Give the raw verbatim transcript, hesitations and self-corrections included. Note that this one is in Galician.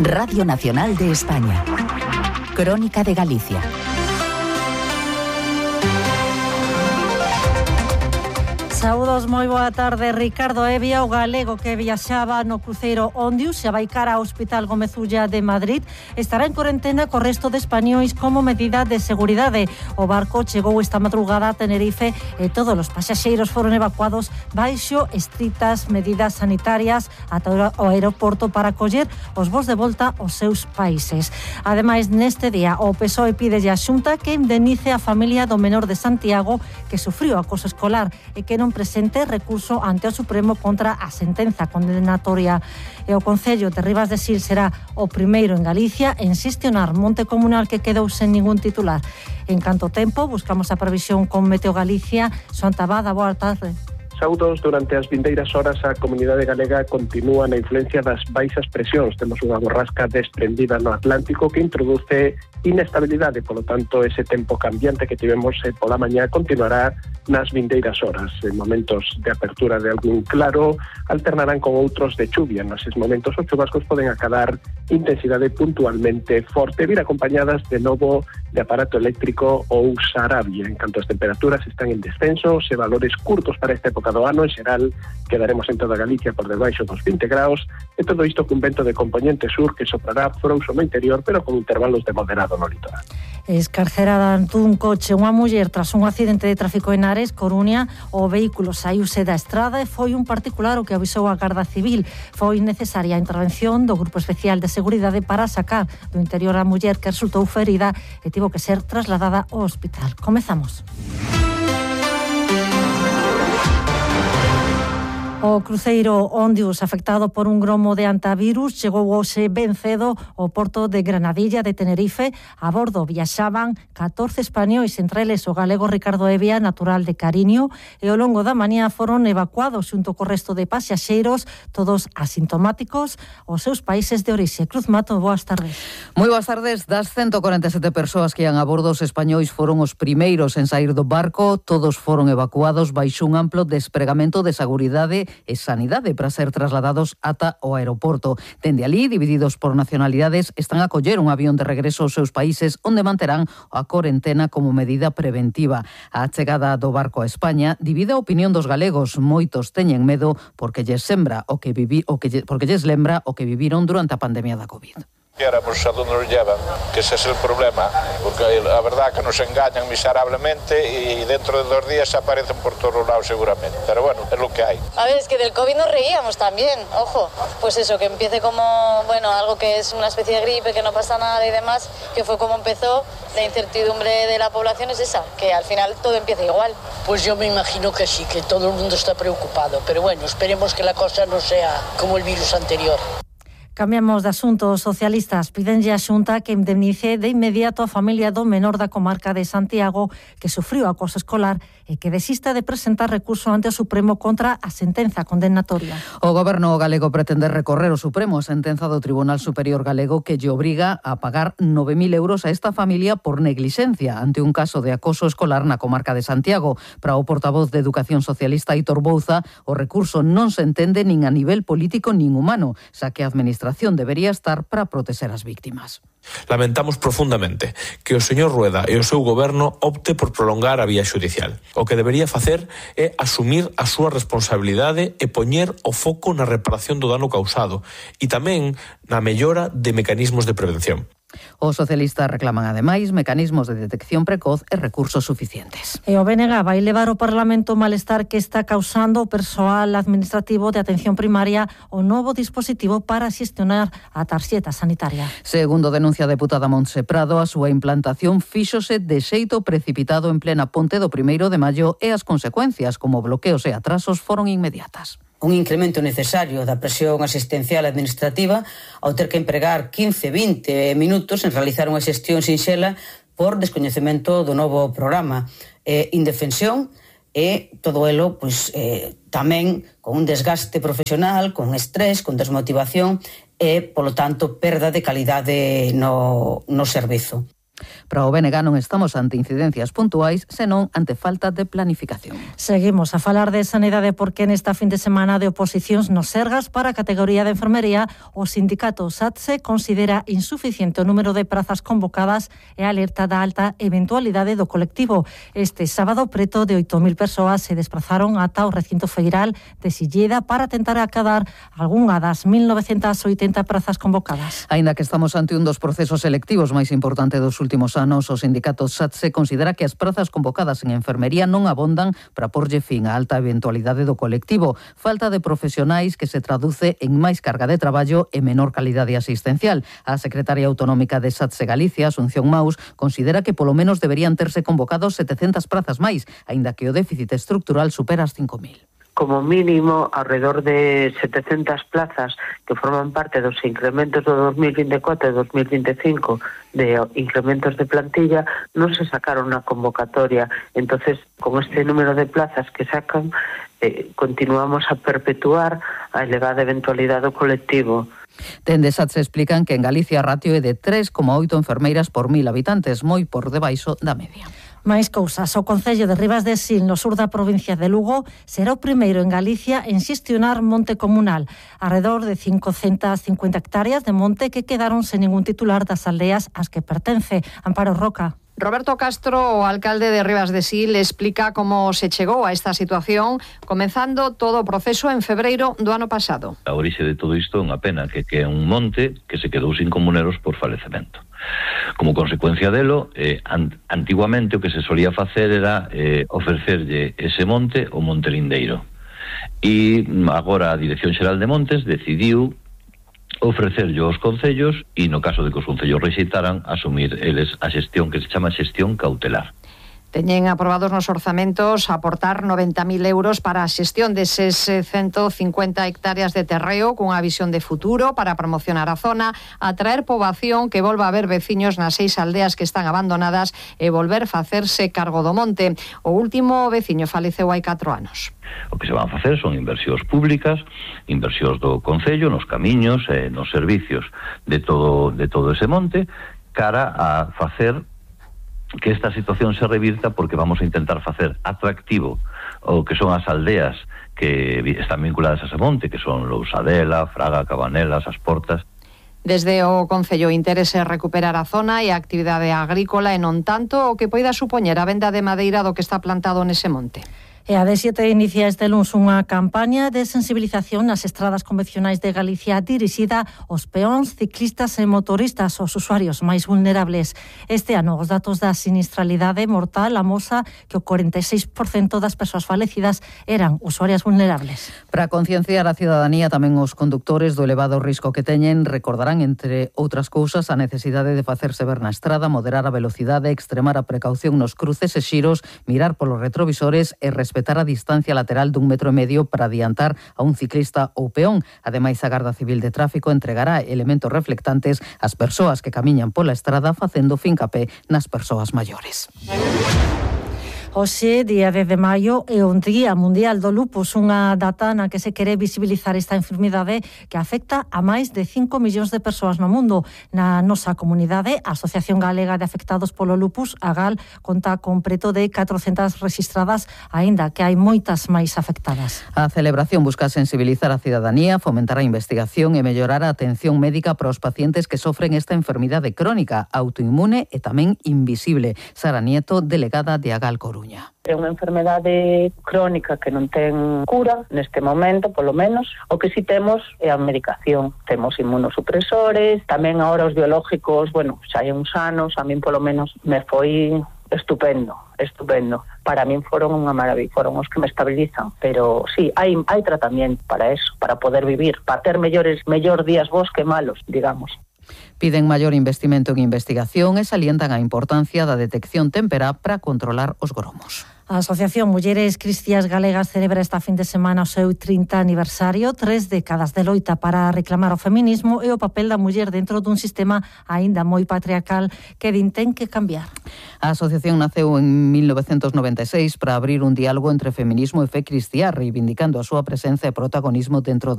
Radio Nacional de España. Crónica de Galicia. Saúdos, moi boa tarde. Ricardo Evia, o galego que viaxaba no cruceiro Ondius, xa vai cara ao Hospital Gómez Ulla de Madrid, estará en corentena co resto de españois como medida de seguridade. O barco chegou esta madrugada a Tenerife e todos os pasaxeiros foron evacuados baixo estritas medidas sanitarias ata o aeroporto para coller os voos de volta aos seus países. Ademais, neste día, o P S O E pide a Xunta que indemnice a familia do menor de Santiago que sufriu acoso escolar e que non presente recurso ante o Supremo contra a sentenza condenatoria. E o Concello de Ribas de Sil será o primeiro en Galicia en xestionar monte comunal que quedou sen ningún titular. En canto tempo, buscamos a previsión con Meteo Galicia. Santa Bada, boa tarde. Saúdos, durante as vindeiras horas a comunidade galega continúa na influencia das baixas presións. Temos unha borrasca desprendida no Atlántico que introduce inestabilidade, polo tanto ese tempo cambiante que tivemos eh, pola mañá continuará nas vindeiras horas. En momentos de apertura de algún claro alternarán con outros de chuvia. Neses momentos os chubascos poden acadar intensidade puntualmente forte, vir acompañadas de novo de aparato eléctrico ou sarabia. En canto as temperaturas están en descenso, se valores curtos para esta época do ano, en xeral quedaremos en toda Galicia por debaixo dos vinte graus, e todo isto cun vento de componente sur que soprará frouxo no interior, pero con intervalos de moderado no litoral. Escarcerada dun coche unha muller tras un accidente de tráfico en Ares, Coruña. O vehículo saíuse da estrada e foi un particular o que avisou a Garda Civil. Foi necesaria a intervención do Grupo Especial de Seguridade para sacar do interior a muller que resultou ferida e tivo que ser trasladada ao hospital. Comezamos. O cruceiro Ondius, afectado por un gromo de antivirus, chegou hoxe ben cedo ao porto de Granadilla de Tenerife. A bordo viaxaban catorce españois, entre eles o galego Ricardo Evia, natural de Cariño, e ao longo da mañá foron evacuados xunto co resto de pasaxeiros, todos asintomáticos, aos seus países de orixe. Cruz Mato, boas tardes. Moi boas tardes. Das ciento cuarenta e sete persoas que ian a bordo, os españois foron os primeiros en sair do barco. Todos foron evacuados baixo un amplo despregamento de seguridade e sanidade para ser trasladados ata o aeroporto. Dende alí, divididos por nacionalidades, están a coller un avión de regreso aos seus países onde manterán a corentena como medida preventiva. A chegada do barco a España divide a opinión dos galegos. Moitos teñen medo porque lles sembra o que vivi, o que porque lles lembra o que viviron durante a pandemia da COVID. Éramos a donde nos llevan, que ese es el problema, porque la verdad que nos engañan miserablemente y dentro de dos días aparecen por todos lados seguramente, pero bueno, es lo que hay. A ver, es que del COVID nos reíamos también, ojo, pues eso, que empiece como, bueno, algo que es una especie de gripe, que no pasa nada y demás, que fue como empezó. La incertidumbre de la población es esa, que al final todo empieza igual. Pues yo me imagino que sí, que todo el mundo está preocupado, pero bueno, esperemos que la cosa no sea como el virus anterior. Cambiamos de asunto. Os socialistas pidenlle a Xunta que indemnice de inmediato a familia do menor da comarca de Santiago que sufriu acoso escolar e que desista de presentar recurso ante o Supremo contra a sentenza condenatoria. O goberno galego pretende recorrer o Supremo a sentenza do Tribunal Superior Galego que lle obriga a pagar nove mil euros a esta familia por neglixencia ante un caso de acoso escolar na comarca de Santiago. Para o portavoz de Educación Socialista Aitor Bouza, o recurso non se entende nin a nivel político nin humano, xa que a administración debería estar para proteger as víctimas. Lamentamos profundamente que o señor Rueda e o seu goberno opte por prolongar a vía xudicial. O que debería facer é asumir a súa responsabilidade e poñer o foco na reparación do dano causado e tamén na mellora de mecanismos de prevención. Os socialistas reclaman, ademais, mecanismos de detección precoz e recursos suficientes. E o B N G vai levar ao Parlamento o malestar que está causando o persoal administrativo de atención primaria o novo dispositivo para xestionar a tarxeta sanitaria. Segundo denuncia a deputada Montse Prado, a súa implantación fíxose de xeito precipitado en plena ponte do primeiro de maio e as consecuencias, como bloqueos e atrasos, foron inmediatas. Un incremento necesario da presión asistencial administrativa ao ter que empregar quince, vinte minutos en realizar unha xestión sinxela por descoñecemento do novo programa. Eh, indefensión e todo elo pois, eh, tamén con un desgaste profesional, con estrés, con desmotivación e, polo tanto, perda de calidade no, no servizo. Para o B N G non estamos ante incidencias puntuais, senón ante falta de planificación. Seguimos a falar de sanidade porque nesta fin de semana de oposicións nos Sergas para a categoría de enfermería o sindicato SATSE considera insuficiente o número de prazas convocadas e alerta da alta eventualidade do colectivo. Este sábado preto de oito mil persoas se desplazaron ata o recinto feiral de Silleda para tentar acadar algunha das mil novecentas oitenta prazas convocadas. Aínda que estamos ante un dos procesos selectivos máis importantes dos últimos anos, o sindicato SATSE considera que as prazas convocadas en enfermería non abondan para porlle fin á alta eventualidade do colectivo. Falta de profesionais que se traduce en máis carga de traballo e menor calidade asistencial. A secretaria autonómica de SATSE Galicia, Asunción Maus, considera que polo menos deberían terse convocados setecentas prazas máis, aínda que o déficit estructural supera as cinco mil. Como mínimo, alrededor de setecentas plazas que forman parte dos incrementos do dos mil vinte e catro e dos mil vinte e cinco de incrementos de plantilla, non se sacaron na convocatoria. Entonces, con este número de plazas que sacan, eh, continuamos a perpetuar a elevada eventualidade do colectivo. Dende SATSE explican que en Galicia a ratio é de tres coma oito enfermeiras por mil habitantes, moi por debaixo da media. Máis cousas. O Concello de Ribas de Sil, no sur da provincia de Lugo, será o primeiro en Galicia en xestionar monte comunal. Arredor de cincocentas cincuenta hectáreas de monte que quedaron sen ningún titular das aldeas ás que pertence. Amparo Roca. Roberto Castro, o alcalde de Ribas de Sil, explica como se chegou a esta situación, comenzando todo o proceso en febreiro do ano pasado. A orixe de todo isto é unha pena, que que é un monte que se quedou sin comuneros por falecemento. Como consecuencia delo, eh, an, antiguamente o que se solía facer era eh, ofrecerlle ese monte ao Monte Lindeiro. E agora a Dirección Xeral de Montes decidiu ofrecerlle aos concellos e, no caso de que os concellos rexeitaran, asumir eles a xestión que se chama xestión cautelar. Teñen aprobados nos orzamentos aportar noventa mil euros para a xestión deses ciento cincuenta hectáreas de terreo cunha visión de futuro para promocionar a zona, atraer poboación que volva a ver veciños nas seis aldeas que están abandonadas e volver facerse cargo do monte. O último veciño faleceu hai catro anos. O que se van a facer son inversións públicas, inversións do Concello, nos camiños e nos servicios de todo, de todo ese monte, cara a facer que esta situación se revirta, porque vamos a intentar facer atractivo o que son as aldeas que están vinculadas a ese monte, que son Lousadela, Fraga, Cabanelas, As Portas. Desde o Concello interese recuperar a zona e a actividade agrícola e non tanto o que poida supoñer a venda de madeira do que está plantado nese monte. E a D siete inicia este luns unha campaña de sensibilización nas estradas convencionais de Galicia dirixida aos peóns, ciclistas e motoristas, os usuarios máis vulnerables. Este ano, os datos da sinistralidade mortal amosa que o cuarenta e seis por cento das persoas falecidas eran usuarias vulnerables. Para concienciar a cidadanía, tamén os condutores do elevado risco que teñen recordarán, entre outras cousas, a necesidade de facerse ver na estrada, moderar a velocidade, extremar a precaución nos cruces e xiros, mirar polos retrovisores e respetar a distancia lateral dun metro e medio para adiantar a un ciclista ou peón. Ademais, a Garda Civil de Tráfico entregará elementos reflectantes ás persoas que camiñan pola estrada, facendo fincapé nas persoas maiores. Hoxe, día dez de maio, é un día mundial do lupus, unha data na que se quere visibilizar esta enfermidade que afecta a máis de cinco millóns de persoas no mundo. Na nosa comunidade, a Asociación Galega de Afectados polo Lupus, a GAL, conta con preto de catrocentas rexistradas, aínda que hai moitas máis afectadas. A celebración busca sensibilizar a cidadanía, fomentar a investigación e mellorar a atención médica para os pacientes que sofren esta enfermidade crónica, autoinmune e tamén invisible. Sara Nieto, delegada de a GAL Coruña. É unha enfermedade crónica que non ten cura neste momento, polo menos. O que si temos é a medicación. Temos inmunosupresores, tamén agora os biológicos, bueno, xa hai uns anos, a min polo menos me foi estupendo, estupendo. Para min foron unha maravilla, foron os que me estabilizan, pero sí, hai hai tratamento para eso, para poder vivir, para ter mellores mellor días bons que malos, digamos. Piden maior investimento en investigación e salientan a importancia da detección temperá para controlar os gromos. A Asociación Mulleres Cristiás Galegas celebra esta fin de semana o seu trinta aniversario, tres décadas de loita para reclamar o feminismo e o papel da muller dentro dun sistema aínda moi patriarcal que din ten que cambiar. A asociación naceu en mil novecentos noventa e seis para abrir un diálogo entre feminismo e fe cristiá, reivindicando a súa presenza e protagonismo dentro da